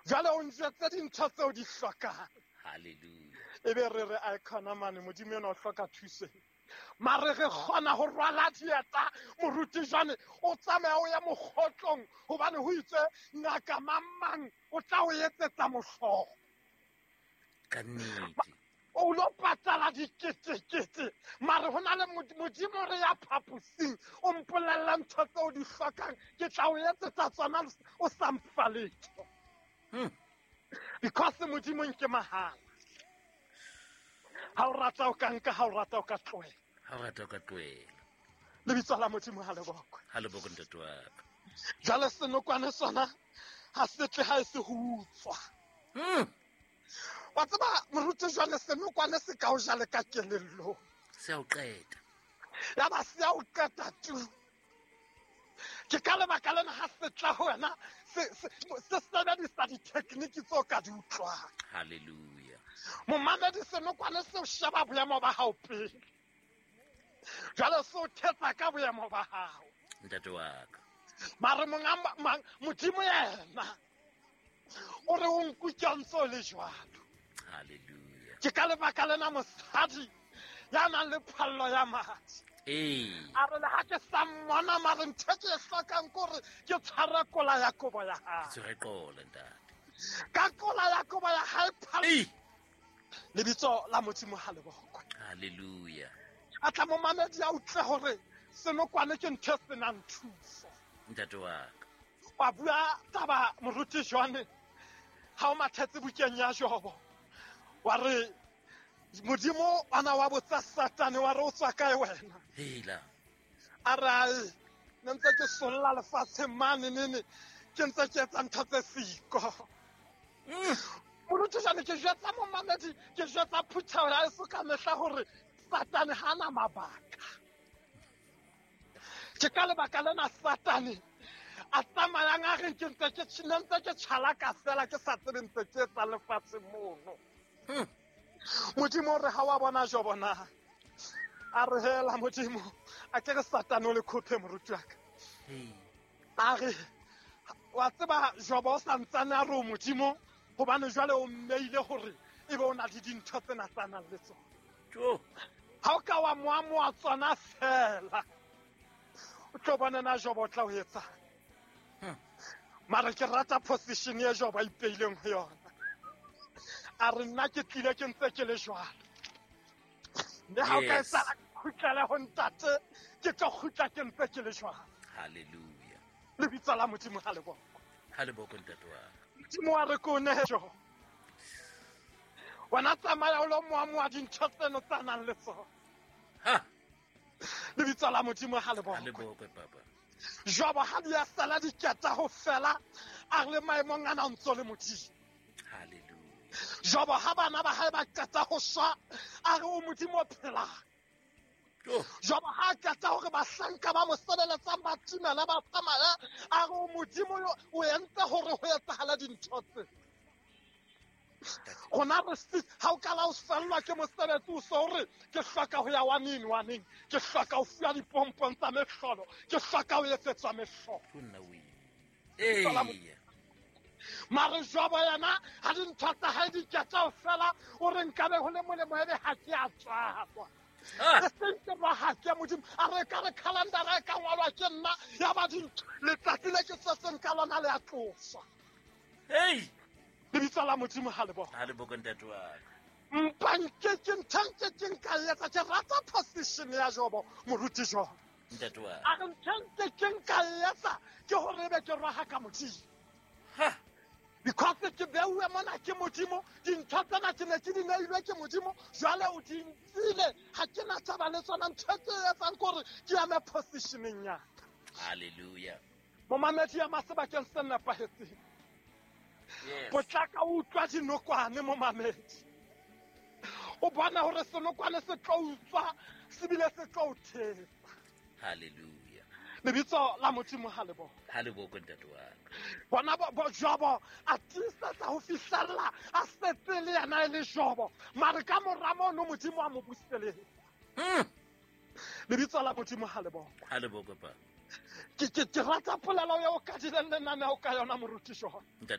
Jwale o njwetse dintho tseo di hlokang. Halleluja. E be re re a khona mane, Modimo ena o hloka thuso. Mare re kgona ho rwala dieta, moruti jwane o tsamaya o ya mokgotlong hobane ho itswe ngaka mang o tla o etsetsa mohlolo. Ka nnete. O lo patala diketekete, mare ho na le Modimo re ya phaposing, o mpolella ntho tseo di hlokang, ke tla o etsetsa tsona o sa mfa letho. Because Modimo nke mahala. Ha o rata o ka nka, ha o rata o ka tlohela. Ha o rata o ka tlohela. Lebitso la Modimo ha le bokwe. Ha le bokwe, ntate wa ka. Jwale senokwane sona ha se tle ha e se ho utswa. Wa tseba moruti jwale senokwane se ka o jale ka kelellong. Se a o qeta. Ya ba se a o qeta tu. Ke ka lebaka lena ha se tla ho wena, se sebedisa dithekniki tseo ka di utlwang. Halleluja. Momamedi, senokwane se o sheba boemo ba hao pele. Jwale se o thetsa ka boemo ba hao. Ntate wa ka. Mare monga Modimo yena o re o nkutlwa ntse o le jwalo. Halleluja. Ke ka lebaka lena mosadi ya nang le phallo ya madi. A re le ha ke sa mmona, mare ntho e ke e hlokang ke hore ke tshware kola ya kobo ya hae. Ke tshware kola, ntate. Ka kola ya kobo ya hae phallo. Lebitso la Modimo ha le bokwe. Halleluja. A tla momamedi a utlwe hore senokwane ke ntho e senang thuso. Ntate wa ka. Wa bua taba moruti jwane ha o mathetse bukeng ya Jobo. Wa re Modimo ana wa botsa Satane wa re o tswa kae wena? Hela. A re ai, ne ntse ke solla lefatsheng mane nene, ke ntse ke etsa ntho tse siko. Moruti jwane ke jwetsa momamedi, ke jwetsa phutheho ya heso ka mehla hore Satane ha ana mabaka. Ke ka lebaka lena Satane a tsamayang a reng ke ntse ke ne ntse ke tjhalaka fela ke sa tsebe ntse ke etsa lefatshe mono. Modimo o re ha wa bona Jobo na? A re hela Modimo, a ke re Satane o le khophe moruti wa ka. A re wa tseba Jobo o sa ntsane a re o Modimo hobane jwale o mmeile hore ebe o na le dintho tsena tsa nang le tsona. Ha o ka wa moamoa tsona fela, o tlo bona na Jobo o tla o etsang. Mara ke rata position e Jobo a ipeileng ho yona. A re nna ke tlile ke ntse ke le jwalo. Mme ha o ka etsahala ke kgutlele ho ntate, ke tlo kgutla ke ntse ke le jwalo. Halleluja. Lebitso la Modimo ha le bokwe. Ha le bokwe, ntate wa ka. Modimo wa re ko nehe Jobo. Wena tsamaya o lo moamoa dintho tseno tsa nang le tsona. Lebitso la Modimo ha le bokwe. Ha le bokwe, papa. Jobo ha di a sala diketa ho fela, a re le maemong ana o ntso le Modimo. Halleluja. Jobo ha bana ba hae ba qeta ho shwa, a re o Modimo o phelang. Jobo ha a qeta hore bahlanka ba mo sebeletsang ba timele ba tsamaya, a re o Modimo yo o entse hore ho etsahale dintho tse. Rona re se, ha o kala o fellwa ke mosebetsi o so re ke hloka ho ya waneng waneng, ke hloka ho fuwa dipompong tsa mehlolo, ke hloka ho etsetswa mehlolo. Ho nna o ile. Eya. Mare Jobo yena ha dintho tsa hae di ketsa ho fela, o re nkabe ho le molemo ebe ha ke a tswalwa. E seng ke ba ha ke Modimo, a re ka re calendar e ka ngwalwa ke nna, ya ba dintho, letsatsi le ke tswetseng ka lona le a tloswa. Hey! Lebitso la Modimo ha le bokwe. Ha le bokwe, ntate wa ka. Mpa nke ke ntho nke ke nka e etsa, ke rata position ya Jobo, moruti Jobo. Ntate wa ka. A re ntho nke ke nka e etsa ke hore ebe ke roha ka Modimo. Because ke beuwe mona ke Modimo, dintho tsena ke ne ke di neilwe ke Modimo, jwale o di nkile, ha ke na taba le tsona. Ntho e ke e etsang ke hore ke eme positioneng ya ka. Halleluja. Momamedi ya masebakeng se nepahetseng. Potlaka o utlwa dinokwane, momamedi. O bona hore senokwane se tlo utswa, se bile se tlo o thetsa. Halleluja. Lebitso la Modimo ha le bokwe. Ha le bokwe, ntate wa ka. Bona bo Jobo a tiisetsa ho fihlella a setse le yena e le Jobo, mare ka mora mono Modimo a mo buseletsa. Lebitso la Modimo ha le bokwe. Ha le bokwe, papa. Ke rata polelo eo ka dileng lenaneo ka yona, moruti Jobo. Ntate.